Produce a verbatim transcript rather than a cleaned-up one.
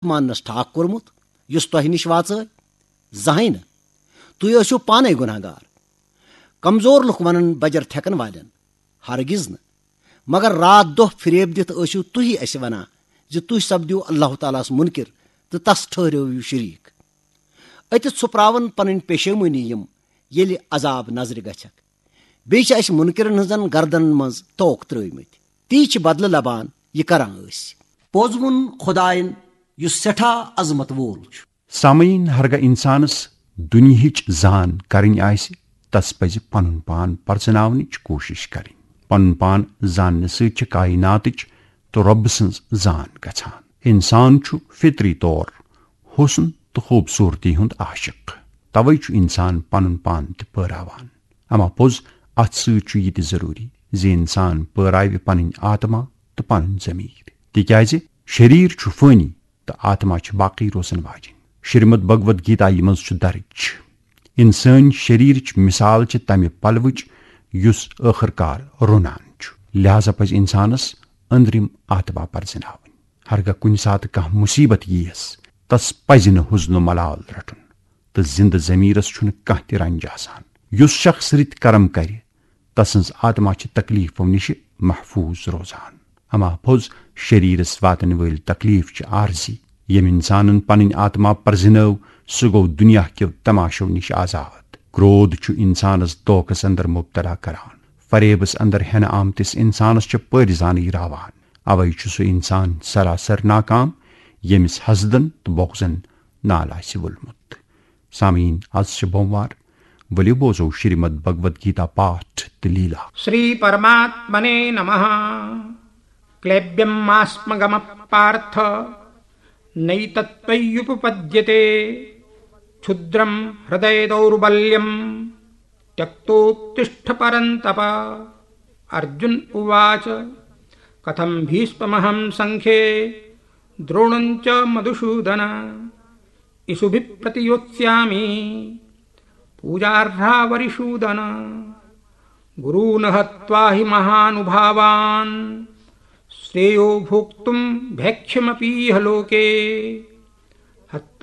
ماننس ٹھاک کوٚرمُت یُس تۄہہِ نِش واژٲے؟ زانٛہہ نہٕ۔ تُہۍ ٲسِو پانے گۄناہ گار۔ کمزور لُکھ ونن بجر تھٮ۪کن والٮ۪ن، ہرگز نہٕ۔ مگر راتھ دۄہ فریب دِتھ ٲسِو تُہی اسہِ ونان زِ تُہۍ سپدِو اللہ تعالیٰ ہس منکر تہٕ تس ٹھٔہرٲوِو شریٖک۔ أتِتھ سُپراون پنٕنۍ پیشیمٲنی یِم، ییٚلہِ عذاب نظرِ گژھکھ۔ بیٚیہِ چھِ اسہِ منکرن ہٕنٛزن گردنن منٛز توک ترٲومٕتۍ۔ تی چھِ بدلہٕ لبان یہِ کران ٲسۍ۔ پوٚز ووٚن خداین، یُس سٮ۪ٹھاہ عظمت وول چھُ۔ سامعیٖن، ہرگاہ انسانس دُنیہٕچ زان کرٕنۍ آسہِ، تس پزِ پنُن پان پرزناونٕچ کوٗشش کرٕنۍ۔ پنُن پان زاننہٕ سۭتۍ چھِ کائناتٕچ تہٕ رۄبہٕ سٕنٛز زان گژھان۔ انسان چھُ فطری طور حسن تہٕ خوٗبصوٗرتی ہُنٛد عاشق۔ توے چھُ انسان پنُن پان تہِ پٲراوان۔ اما پوٚز، اتھ سۭتۍ چھُ یہِ تہِ ضروٗری زِ انسان پٲراوِ پنٕنۍ آتما تہٕ پنُن ضمیر، تِکیازِ شریر چھُ فٲنی تہٕ آتما چھِ باقی روزن واجِنۍ۔ شریمد بھگوت گیتایہِ منٛز چھُ درج، انسٲنۍ شریرٕچ مثال چھِ تمہِ پلوٕچ یُس ٲخٕر کار رُنان چھُ۔ لہذا پزِ انسانس أنٛدرِم آتما پرزناوٕنۍ۔ ہرگاہ کُنہِ ساتہٕ کانٛہہ مُصیبت یِیَس، تس پزِ نہٕ حزن و ملال رٹُن تہٕ زندٕ ضمیرس چھُنہٕ کانٛہہ تہِ رنج آسان۔ یُس شخص رٕتۍ کرم کرِ، تسٕنٛز آتما چھِ تکلیفو نِشہِ محفوظ روزان۔ اما پوٚز، شریرس واتن وٲلۍ تکلیف چھِ عارضی۔ ییٚمۍ انسانن پنٕنۍ آتما پرزنٲو، سُہ گوٚو دُنیا کیو تماشو نِش آزاد۔ کرودھ چھُ انسانس دھوکس اندر مبتلا کران۔ فریبس اندر ہٮ۪نہٕ آمتِس انسانس چھِ پٲرۍ زانٕے راوان۔ اوے چھُ سُہ انسان سراسر ناکام، ییٚمِس حسدن تہٕ بغضن نال آسہِ وولمُت۔ سامعیٖن، از چھِ بوموار، ؤلِو بوزو شریمد بھگوت گیتا پاٹھ تہٕ لیلا۔ श्रीपरमात्मने नमः। क्लेब्यमास्मगमपार्थ नैतत्त्वय्युपपद्यते। क्षुद्रं हृदयदौर्बल्यं त्यक्तोत्तिष्ठ परन्तप। अर्जुन उवाच। कथं भीष्ममहं सङ्ख्ये द्रोणं च मधुसूदन। इषुभिः प्रतियोत्स्यामि पूजार्हा वरिसूदन। गुरून् हत्वा हि महानुभावान् श्रेयो भोक्तुं भैक्ष्यमपीह लोके। हत्वा